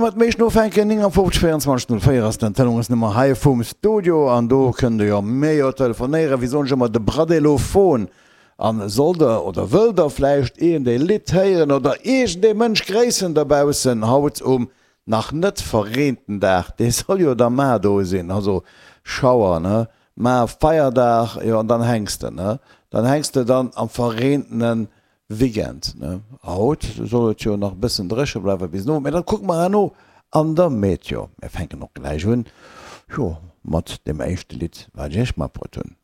Mat meeschten ufänken, 59 24 04 ass den Telefonsnummer hei vum Studio an do kënnt der jo mir jo telefonéieren, wéi soen ech ëmmer, de Bradelophon. An sollt der oder wëllt der vläicht iergend ee Lidd héieren oder iergend ee Mënsch gréissen dobaussen haut um nach net verreenten Dag, dee soll jo da mar do sinn, also Schauer, ne, mar Feierdag, jo an dann hänks de, ne, dann hänks de dann am verreentene Weekend, ne? Haut soll et jo nach e bëssen dréche bleiwen bis den Owend, mä dat kucke mer herno an der Meteo. Mir fänken och gläich un, jo, mat deem éischte Lidd, wat ech iech matbruet hunn.